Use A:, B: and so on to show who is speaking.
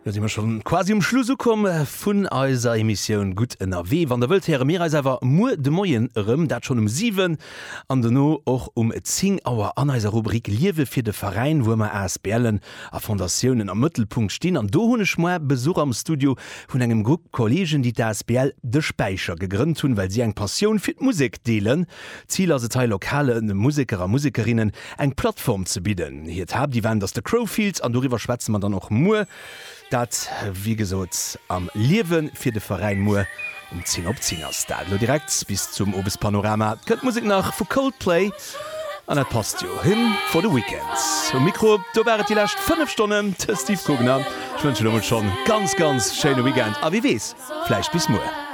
A: Lo si mer schonn quasi um Schluss ukomm vun eiser Emissioun Gutt ënnerwee. Wann der wëllt, héiere mir eis awer muer de Moien erëm, dat schonn um 7 an dono och um 10 Auer an eiser Rubrik Liewe fir de Veräin, wou ëmmer ASBLen a Fondatiounen am Mëttelpunkt stinn. An do hunn ech muer Besuch am Studio vun engem Grupp Kollegen, déi d'ASBL De Späicher gegrënnt hunn, well si eng Passioun fir d'Musek deelen. Zil ass et hei, lokale Museker a Musekerinnen eng Plattform ze bidden. Hiert Haaptevent ass de Crowfield an doriwwer schwätze mer dann och muer. Dat wéi gesot am Liewe fir de Veräin muer um 10 op 10 ass dat. Elo direkt bis zum Owespanorama kënnt d'Musek nach vu Coldplay an dat passt jo, Hymn for the Weekend. Um Mikro do war et déi lescht 5 Stonnen de Steve Kugner. Ech wënschen elo mol schonn ganz ganz schéine Weekend a wie weess, vläicht bis muer.